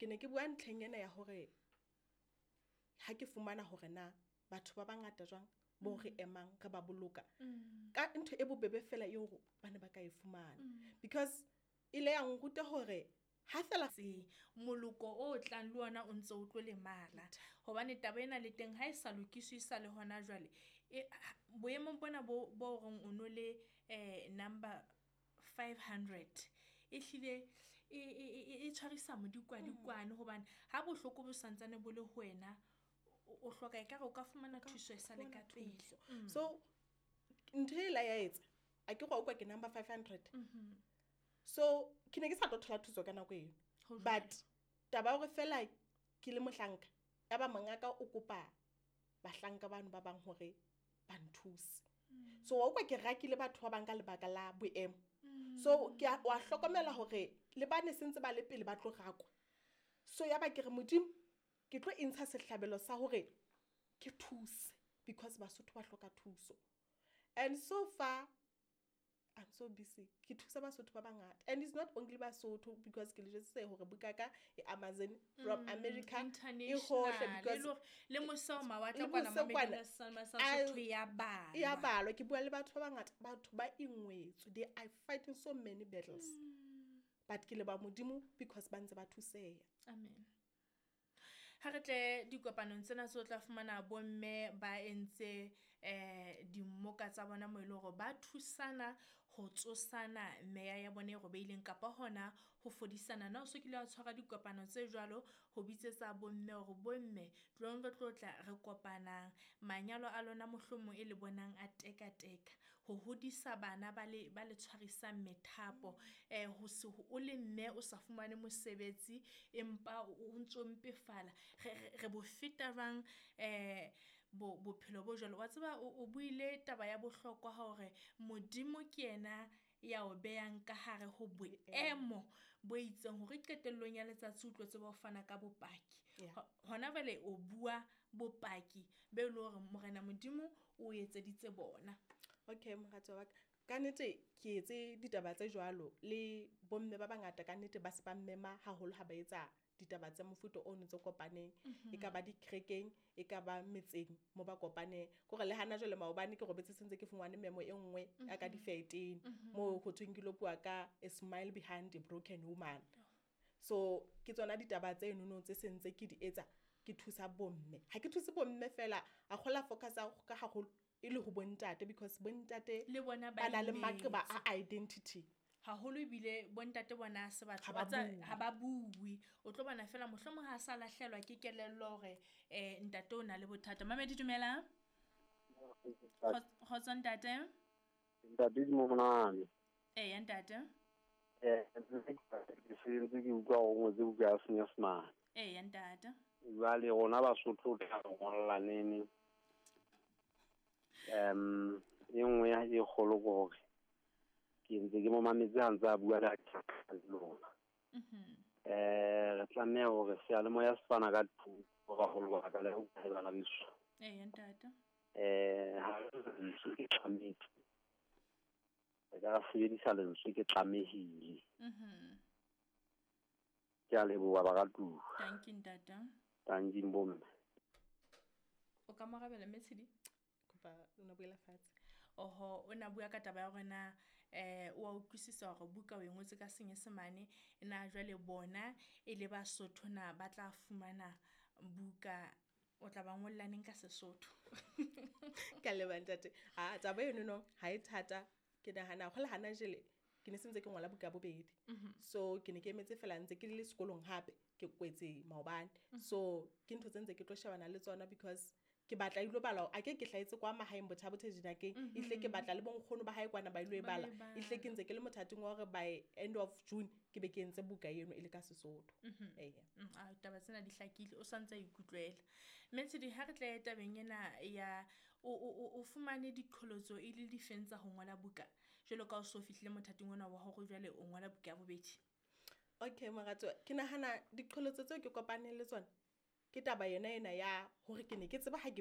Ke ne ke bua ntlheng ena ya hore ha ke fumana hore na batho ba bangata jwang bo re emang re ba boloka ka ntho e bobebe fela eo ba ne ba ka e fumana, because ile ya nruta hore ha fela Tseng moloko o tlang le ona o ntse o tlo lemala, hobane taba ena le teng ha e sa lokiswe e sa le hona jwale boemong bona bo reng o no le number 500 e hlile e tshwarisa modikwadikwane, hobane ha bohloko bo santsane bo le ho wena, o hloka ekare o ka fumana thuso e sale ka pele. So ntho e la ya etsa a ke go utlwa ke number 500. So ke ne ke sa tlo thola thuso ka nako eno, but taba hore fela ke le mohlanka ya ba mongaka o kopa bahlanka bano ba bang hore ba nthuse. So wa utlwa ke rakile batho ba bang ka lebaka la boemo. So ke wa hlokomela hore le bane sentse ba le pele ba tlo rakwa. So ya ba ke re Modimo ke tlo intsha sehlabelo sa hore ke thuse, because Basotho ba hloka thuso. And so far I'm so busy ke thusa Basotho ba bangata, and it's not only Basotho, because ke le jwetsitse hore buka ka e Amazon from America e hohle, because le mose o mawatle kwana Sotho ya balwa. Ya balwa. Ke bua le batho ba bangata, batho ba ingwetswe, they are fighting so many battles. But ke le ba Modimo because ba ntse ba thuseha. Amen. Ha re tle dikopanong tsena tso tla fumana bomme ba entse dimmoka tsa bona mo e leng hore ba thusana ho tsosana meya ya bona e robeileng kapa hona ho fodisana. Na o so kile wa tshwara dikopano tse jwalo ho bitsetsa bomme hore bomme tlong re tlo tla re kopanang, manyalo a lona mohlomong e le bonang a tekateka, ho hodisa bana ba le tshwarisang methapo, ho se o le mme o sa fumane mosebetsi empa o ntso mpefala, re bo feta jwang bophelo bo jwalo. Wa tseba o buile taba ya bohlokwa hore Modimo ke yena ya o behang ka hare ho boemo bo itseng hore qetellong ya letsatsi o tlo tseba ho fana ka bopaki. Hona jwale o bua bopaki be le hore Morena Modimo o etseditse bona. Okay, mohatso wa ka, ka nnete ke etse ditaba tse jwalo le bomme ba bangata ka nnete ba se ba mmema haholo ha ba etsa ditaba tsa mofuta o ntse kopaneng, e ka ba dikerekeng, e ka ba metseng mo ba kopaneng. Kore le hana jwale maobane ke robetse sentse ke fumane memo e nngwe ya ka difeteng mo ho thweng ke lo bua ka a smile behind a broken woman. So ke tsona ditaba tse nono tse sentse ke di etsa, ke thusa bomme. Ha ke thuse bomme fela, a kgola focus ka haholo e le ho bontate, because bontate le bona ba na le maqeba a identity haholo, ebile bontate bona se batho ha ba bue. O tlo bona fela mohlomong ha sa lahlelwa ke kelello hore ntate o na le bothata. Mamedi dumela. Kgotso ntate. Ntate di monane. Eya ntate. Ke sentse ke utlwa hore o ngotse buka ya Senyesemane. Eya ntate. Jwale rona Basotho tla ngolla nene. E nngwe e kgolo ke hore ke ntse ke mo mametse ha ntse a bua le lona. Re tlameha hore seyalemoya se fana ka thuso baholo ba ka le ho bana beso. Eya ntate. Ha lentswe ke tlamehile, re ka sebedisa lentswe ke tlamehile. Ke a leboha baratuwa. Thank you ntate. Thank you bomme. O ka morabela Mmetshidi? Kopa o na buela fatshe. Oho, o na bua ka taba ya hore na o a utlwisisa hore buka o e ngotse ka Senyesemane, na jwale bona e le Basotho na ba tla fumana buka, o tla ba ngolla neng ka Sesotho? Ka leboha ntate. Ha taba eno no ha e thata, ke nahana go le hana jele ke ne sentse ke ngola buka bobedi. So ke ne ke emetse fela ntse ke le sekolong hape ke kwetse maobane. So ke ntho tse ntse ke tlo shebana le tsona, because ke batla ilo bala, a ke ke hlaetse kwa mahaeng Botha-Bothe dinakeng, ehle ke batla le bonkgono ba hae kwana ba ilo e bala. Ehle ke ntse ke le mothating wa hore by end of June ke be ke entse buka eno e le ka Sesotho. Eya. A taba tsena di hlakile, o santse a ikutlwela. Mmetshidi, ha re tle tabeng ena ya o fumane diqholotso e le difeng tsa ho ngola buka jwalo ka o so fihlile mothating ona wa hore jwale o ngola buka ya bobedi? Okay moratso, ke nahana diqholotso tseo ke kopaneng le tsona ke taba yona ena ya hore ke ne ke tseba ha ke